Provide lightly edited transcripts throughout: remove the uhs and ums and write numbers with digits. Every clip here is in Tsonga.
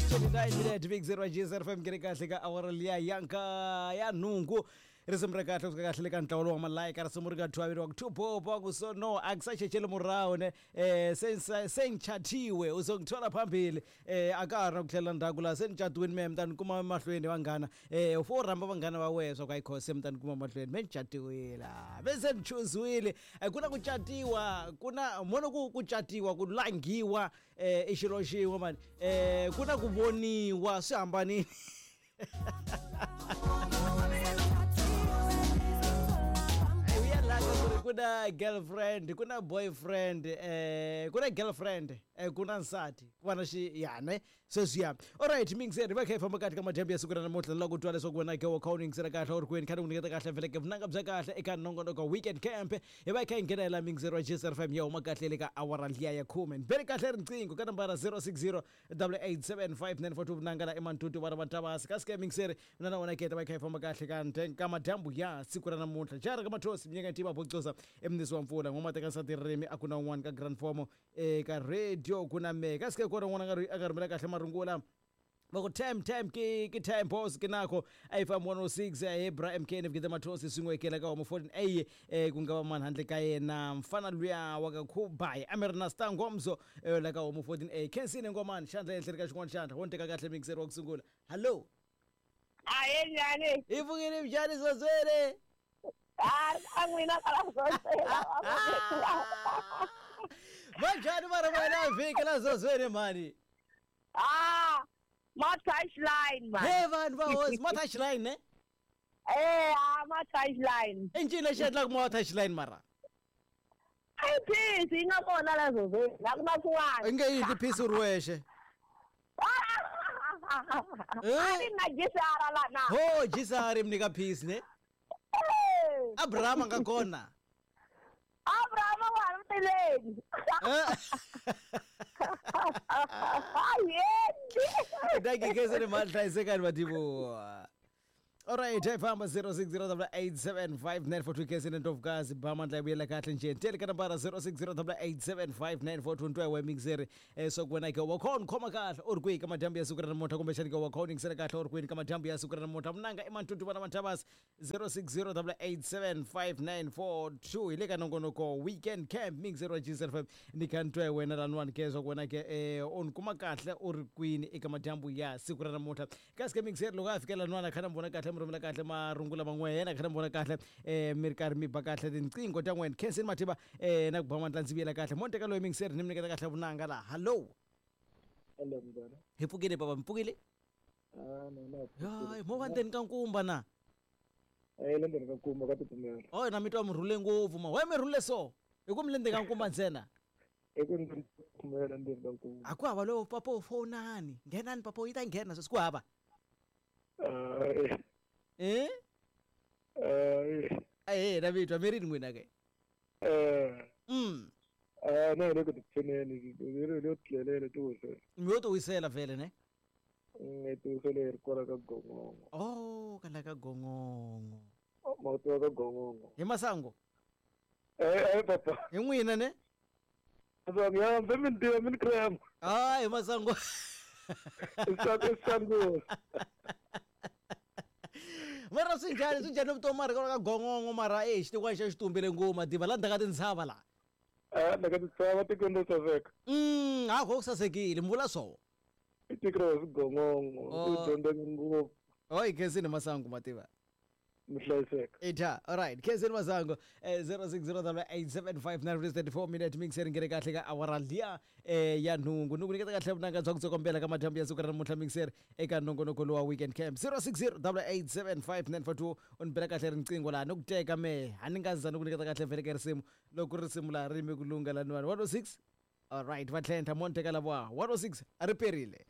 29 minute big 0 GSR FM ngene kahle ka awara liya yanka ya nhungu risimu ra kahle kusuka kahle le ka ntlawa lowu wa malayika risimu ri nga thwaveriwa ku thupopo ku so no akusachecheli murahu ne sengichathiwe uzongithola phambili a ka ha ri na ku tlhelela ndzhaku laha se ni catiwini mehe mi ta ni kuma mahlweni vanghana u fo rhamba vanghana va wehe swa ku ayi se mi ta ni kuma mahlweni me ni catiwile ve se ni chuziwile. Ku na ku catiwa ku na mono ku catiwa ku langhiwa i xilo xin'we mani ku na ku voniwa swi hambanile. Ku na girlfriend ku na boyfriend ku na girlfriend ku na nsati ku va na xiyane sweswiya. Alright mingiseri va kha hi famba kahle ka madyambu ya siku ra namuntlha la ku twa leswaku wena ke wa kha u yingisela kahle u ri kwini kha ni ku nyiketa kahle vheleke vunanga bya kahle eka nongonoko weekend camp hi va hi kha hi nghena hi la mingiseri wa GSR FM ya huma kahle le ka awara liya ya khume ni bele kahle riqingho ka nambara 060 8875942 vunanga la emantutu vana va ntavasi kasi ke mingiseri mina na wena keta va kha hi famba kahle ka nte ka madyambu ya siku ra namuntlha jara ka mathosi minyaka tiva bocosa emnisi wa mpfula n'wama teka nsati ririmi a ku na un'wana ka grand formo eka radio ku na mehe kasi ke kona un'wana a nga rhumela kahle marungula va ku time time ke ke time boss ke nako a yi famba 106 he bra MK ni fikile mathosi swin'we kela ka homo 14 a ku nga va mani handle ka yena mfana luya wa ka khubai a mi ri na star ngomso la ka homo 14 a khensini ngomani xandla ehenhleni ka xin'wana xandla wo ni teka kahle mixer wa ku sungula. Hallo. Ahe njhani? Hi pfukile njhani Zozwele? A n'wina kala Zozwele. Va njhani mara vana vhiki la Zozwele mani? Ah, ma touchline man. He vanhu va hosi ma touchline ne? Ah, ma touchline. I ncini lexi endlaka ma touchline mara? Ai peace yi nga kona la Zozwele, a ku na swin'wana. I nge yindli peace u ri wexe. A ni na gisara la na. Ho gisari mi nyika peace ne? Abraham a nga kona. Abraham wa ha ri tileni. Yendi. Dankie khenseni mali hlayisekani mativo. Alright, hi famba 0608875942 khenseni ndlovukazi ba mandla ya vuyela kahle nje ntele ka nambara 0608875942 ntwa wa mixer swa ku wena ke wa khona khoma kahle u ri kwihi ka madyambu ya siku ra namuntlha kumbexani ke wa khona yingisela kahle u ri kwini ka madyambu ya siku ra namuntlha munanga i mantutu vana manthavasi 0608875942 hi le ka nongonoko weekend camp mixer wa GSL5 ni kha ni twa wena laniwani ke swa ku wena ke u ni kuma kahle u ri kwini eka madyambu ya siku ra namuntlha kasi ke mixer loko a fika laniwani a kha na mi vona kahle mi rhumela kahle marungula man'we yena kha na mi vona kahle mi ri karhi mi ba kahle tinqingho ta n'wena khenseni mathiva na ku ba mandla ndzi vuyela kahle mo ni teka loyi mixer ni mi nyiketa kahle vunanga laha. Hallo. Hello mntwana. Hi pfukile baba mi pfukile? Ah, no no. Hayi mo va ndzeni ka nkumba na? Le ndzeni ka nkumba ka titimela. Oh na mi twa mi rhule ngopfu ma. Why mi rhule so? Hi ku mi le ndzeni ka nkumba ntsena. I ku ndzi titimela ndzeni ka nkumba. A ku hava lowo papa u fonani. Nghenani papa yi ta nghena sweswi ku hava. Eh? Eh, na mi twa mi rini n'wina ke? Na hi le ku tipfineni, hi le tlelele ti wisela. Mi yo ti wisela vhele ne? Hi ti wisele hi ri kwala ka Gongongo. Oh, kala ka Gongongo. Ma tiva ka Gongongo. Hi Masango? Papa. Hi n'wina ne? Masango, ya, mbe mi ni tiva, mi ni krema. Ah, hi Masango. I Sango. Mara swi njhani, swi njhani vutomi mara kwala ka Gongongo mara xitikwana xa xi tumbele ngopfu mativa la ndzhaku ka tintshava la. Ndzhaku ka tintshava tikweni ro saseka. A ku sasekile, mi vula swona. I tiko ra Gongongo, u dyondzeke ngopfu. Oh, khensini Masango mativa. Mi hlayiseka. Ita, alright. Khensini Masango 0608875934 minute mixer ngene kahle ka awara liya ya nhungu. Ni ku nyiketa kahle vunanga bya ku tsokombela ka madyambu ya siku ra namuntlha mixer eka nongonoko lowa weekend camp 0608875942 u ni bela kahle riqingho laha ni ku teka me a ni nga za ni ku nyiketa kahle vhele ka risimu loko risimu laha ri yime ku lungha laniwani 106. Alright, va tlhentlha mo ni teka lava 106 a ri perile.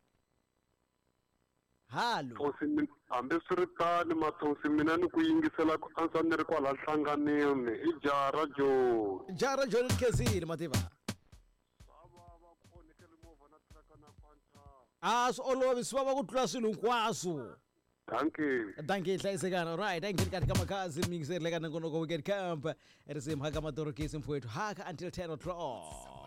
Halo. Thosi hambi swi ri tano Mathosi mina ni ku yingisela ku antswa ni ri kwala nhlanganweni i jaha ra Joni. Jaha ra Joni ni khensile mativa. Va va ku onhekele movha na tiraka na Quantum. A swi olovi swi vava ku tlula swilo hinkwaswo. Dankie. Dankie hlayisekani. Alright, a ngheni kahle ka makhazi mixer le ka nongonoko weekend camp. Risimu haka matorokisi mfowethu haka until 10 o'clock.